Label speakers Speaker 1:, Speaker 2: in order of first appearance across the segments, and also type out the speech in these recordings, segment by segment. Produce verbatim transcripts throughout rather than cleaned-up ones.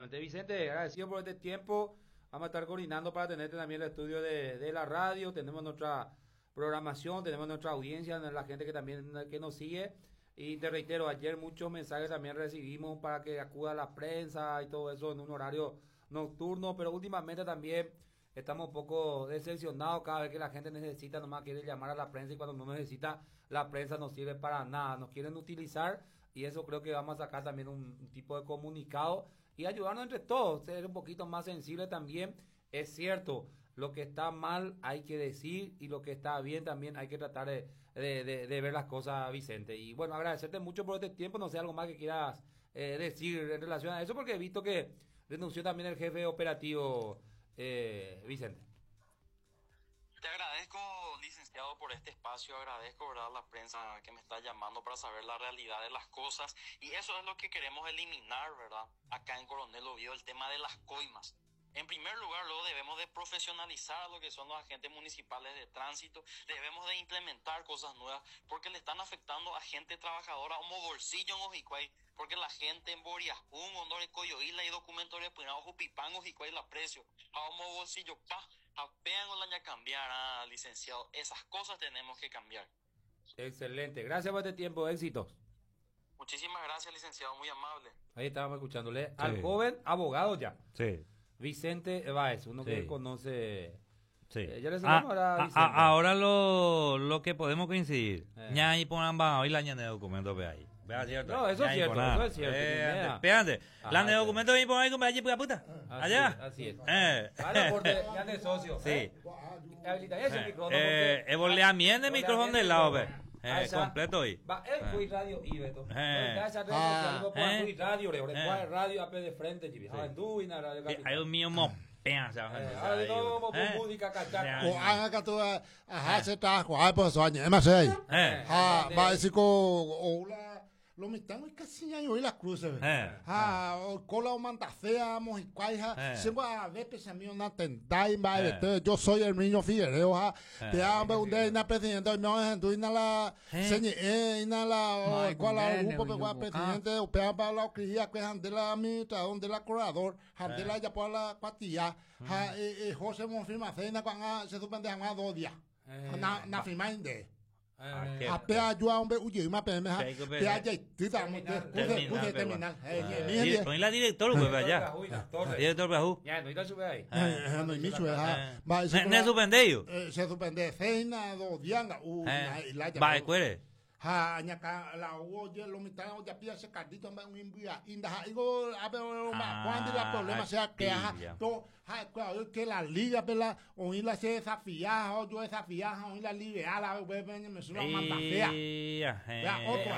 Speaker 1: Exactamente. Vicente, agradecido por este tiempo. Vamos a estar coordinando para tenerte también el estudio de, de la radio. Tenemos nuestra programación, tenemos nuestra audiencia, la gente que también que nos sigue. Y te reitero, ayer muchos mensajes también recibimos para que acuda la prensa y todo eso en un horario nocturno, pero últimamente también estamos un poco decepcionados cada vez que la gente necesita, nomás quiere llamar a la prensa y cuando no necesita, la prensa no sirve para nada, nos quieren utilizar y eso creo que vamos a sacar también un, un tipo de comunicado y ayudarnos entre todos, ser un poquito más sensible también. Es cierto, lo que está mal hay que decir y lo que está bien también hay que tratar de, de, de, de ver las cosas, Vicente. Y bueno, agradecerte mucho por este tiempo, no sé, algo más que quieras eh, decir en relación a eso, porque he visto que renunció también el jefe operativo, eh, Vicente.
Speaker 2: Te agradezco, licenciado, por este espacio, agradezco, ¿verdad?, la prensa que me está llamando para saber la realidad de las cosas, y eso es lo que queremos eliminar, ¿verdad?, acá en Coronel Oviedo, el tema de las coimas. En primer lugar, luego debemos de profesionalizar a lo que son los agentes municipales de tránsito, debemos de implementar cosas nuevas, porque le están afectando a gente trabajadora como bolsillo en Ojicuay, porque la gente en Boriajún, Ondore, Coyoila y documento de Punao, Jupipán, Ojicuay, la precio, a como bolsillo, pa, apean o la cambiar, ah, licenciado, esas cosas tenemos que cambiar.
Speaker 1: Excelente, gracias por este tiempo, éxitos.
Speaker 2: Muchísimas gracias, licenciado, muy amable.
Speaker 1: Ahí estábamos escuchándole
Speaker 3: Sí.
Speaker 1: al joven abogado ya.
Speaker 3: Sí.
Speaker 1: Vicente Báez, uno que
Speaker 3: Sí.
Speaker 1: conoce.
Speaker 3: Sí.
Speaker 1: Eh, ya le
Speaker 3: Ah,
Speaker 1: saludamos ahora a
Speaker 3: ah,
Speaker 1: Vicente.
Speaker 3: ah, ahora lo, lo que podemos coincidir.
Speaker 1: Eh.
Speaker 3: Ña y ponan hoy la ña de documento ve ahí. Vea cierto.
Speaker 1: No, eso es
Speaker 3: Ña y
Speaker 1: cierto,
Speaker 3: ponan.
Speaker 1: eso es cierto,
Speaker 3: Eh,
Speaker 1: ni
Speaker 3: espérate.
Speaker 1: Ajá,
Speaker 3: La de
Speaker 1: ya.
Speaker 3: documento ahí pon ahí con allí puta.
Speaker 1: Así
Speaker 3: Allá.
Speaker 1: es, así es.
Speaker 3: Eh.
Speaker 1: Vale, aporte, ya de socio.
Speaker 3: Sí.
Speaker 1: ¿Eh? Habilita ese
Speaker 3: Eh,
Speaker 1: micrófono.
Speaker 3: eh,
Speaker 1: porque-
Speaker 3: eh, volea bien de micrófono de lado, ve. Eh,
Speaker 1: Ah, esa-
Speaker 3: completo hoy.
Speaker 1: Va, eh, fui radio y Beto.
Speaker 3: Eh.
Speaker 1: Esa red social,
Speaker 3: Ah. Eh.
Speaker 1: fui radio, re,
Speaker 3: Eh.
Speaker 1: radio A P de frente, chibi. Ah, en Duina, radio
Speaker 3: Sí,
Speaker 1: Capital.
Speaker 3: hay un mío mo pea, se va a
Speaker 1: Eh,
Speaker 3: hacer
Speaker 1: ahora
Speaker 3: ahí,
Speaker 1: no, mo-
Speaker 3: eh.
Speaker 1: música cachaca.
Speaker 3: Eh.
Speaker 4: O haga que tú ajá se está ay pues eso año más ahí.
Speaker 3: Eh.
Speaker 4: Ah, va a decir ko o la lo mitad no casi ya yo la cruz eh.
Speaker 3: Eh.
Speaker 4: Ah, o cola o mantacea mojicuaija,
Speaker 3: Eh.
Speaker 4: se va a ver pese mío na tendai va
Speaker 3: Eh.
Speaker 4: yo soy el niño Figuereo ja.
Speaker 3: Eh.
Speaker 4: Te hambre un día na presidente no es tu na la
Speaker 3: Eh.
Speaker 4: señe eh na la
Speaker 5: Mai,
Speaker 4: cual la
Speaker 5: gundene,
Speaker 4: grupo pe
Speaker 5: uyu,
Speaker 4: presidente o pe pa la cría que ande la mita donde la corredor ande la ya por la cuatilla ja eh, eh, José Monfirma cena cuando se suspende a dos días.
Speaker 1: Eh.
Speaker 4: Na na firma inde.
Speaker 3: Ah, qué-
Speaker 4: A pe ayuda hombre uye ma pe me ja.
Speaker 3: Sí, que pe-
Speaker 4: Pe aya tita mo te
Speaker 3: Terminal,
Speaker 4: cuse
Speaker 3: pero
Speaker 4: terminal. Eh
Speaker 3: Eh,
Speaker 4: ni
Speaker 3: di- Pon la director, pues, allá. Director Bajú.
Speaker 1: Ya, no, sube ahí.
Speaker 4: eh no ni sube ja. Va
Speaker 3: Ne ne suspendeyo.
Speaker 4: Eh, se suspende cena dos días u
Speaker 3: Eh.
Speaker 4: la
Speaker 3: Va, escuere.
Speaker 4: Ha añaka la hubo yo lo mitad ya pilla ese cardito un imbia inda ha igo a ver ma cuando la problema sea que ajá to ha que la liga pela o la se desafía o yo desafía o la liga la ve me suena manda fea.
Speaker 3: Ya,
Speaker 4: otro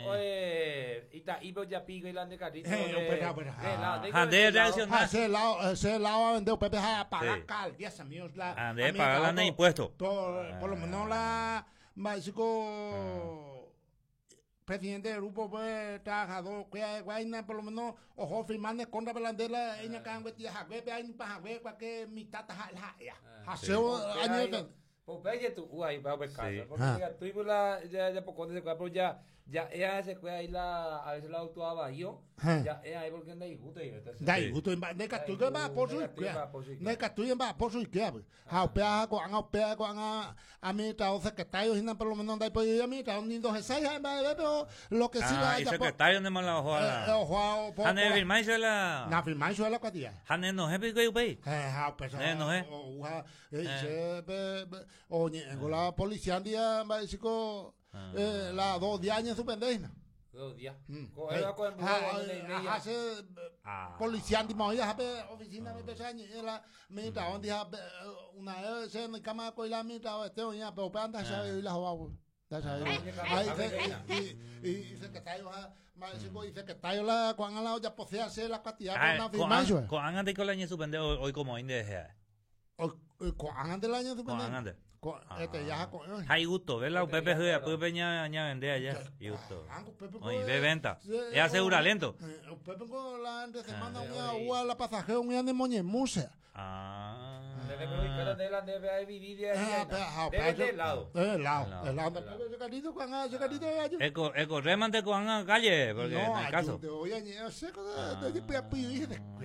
Speaker 1: o eh ita ibo ya pigo y la de cardito.
Speaker 4: Eh,
Speaker 3: Ande reaccionar.
Speaker 4: Ese lado ese lado a vender Pepe ha pagar cal diez amigos la
Speaker 3: Ande pagar la impuesto.
Speaker 4: Por lo menos la básico presidente del grupo pues trabajador que hay por lo menos ojo firmando contra belandela ella can que tía jagüe pe hay pa jagüe pa que mi tata ja ja haseo año
Speaker 1: Pues ve tu ahí va a casa porque tú la ya ya poco se pero ya ya ella se fue ahí la a veces la auto yo ya ella ahí porque anda y gusto y
Speaker 4: da gusto de que tú va por su de que tú va por su qué ha pea con ha pea con a a mi trabajo secretario y por lo menos da por a mi trabajo ni dos seis pero lo que sí
Speaker 3: la y secretario de mala ojo
Speaker 4: ojo
Speaker 3: Hane firmar la
Speaker 4: na firmar la cuatía
Speaker 3: Hane no es pico y
Speaker 4: eh ha pues
Speaker 3: no es
Speaker 4: o la policía día va chico la dos días años suspendida.
Speaker 1: Dos días.
Speaker 4: Hace policía andi oficina me pesa la mi trabajo día una vez se me cama con la mi trabajo este oña pero anda sabe la joa da sabe y y secretario y secretario la cuando la ya posee hacer la cantidad con la firma.
Speaker 3: Con antes con el año suspendido hoy como inde
Speaker 4: con antes el año suspendido. Este ya con
Speaker 3: hay gusto, ver la Pepe juega, Pepe ña ña vende allá. Y gusto. Oye, ve venta. Es asegura lento.
Speaker 4: Pepe con la entre semana una ua la pasajero un de moñemusa.
Speaker 3: Ah.
Speaker 1: Debe de la debe vivir de de lado.
Speaker 4: De lado. El lado. Ese carrito con ese carrito
Speaker 3: Eco eco remante con calle porque en el caso.
Speaker 4: Oye, yo sé de de